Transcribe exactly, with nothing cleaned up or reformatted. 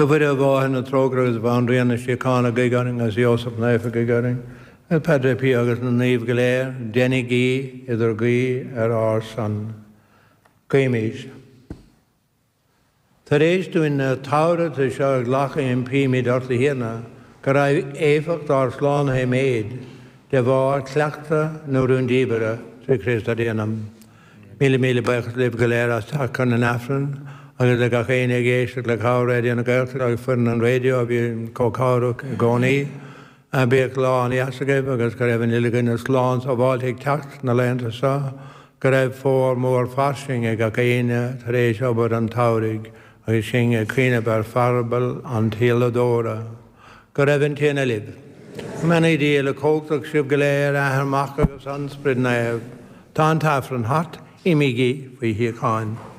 A Mhuire a Mháthair na Trócaire agus a Bhanríon na Síochána, guigh orainn, agus Iósaf Naofa, guigh orainn, agus Padre Pio agus na naoimh go léir, déanaigí idir guí ar ár son. Guímis. Tar éis dúinn na tabharthais seo a ghlacadh impímid ort a Thiarna, go raghaidh éifeacht ár slánaithe i méid, de bharr chleachtadh na rúndiamhaire trí Chríost ár dTiarna. Míle míle buíochas libh go léir as teacht chun an Aifrinn agus le gach éinne ag éisteacht le cabhair Raidió na Gaeltachta agus foireann an raidió a bhí chomh cabhrach i gcónaí. Bíodh lá an-deas agaibh agus go raibh an uile dhuine slán sábháilte ag teacht na laethanta seo, go raibh fómhar mór fairsing ag gach éinne tar éis obair an tsamhraidh agus sinn ag cuimhneamh ar pharabail an tsíoladóra. Go raibh an Tiarna libh. Go mbeannaí Dia uilechumhachtach sibh go léir, Athair, Mac agus an Sprid Naomh. Tá an tAifreann thart, imígí faoi shíocháin.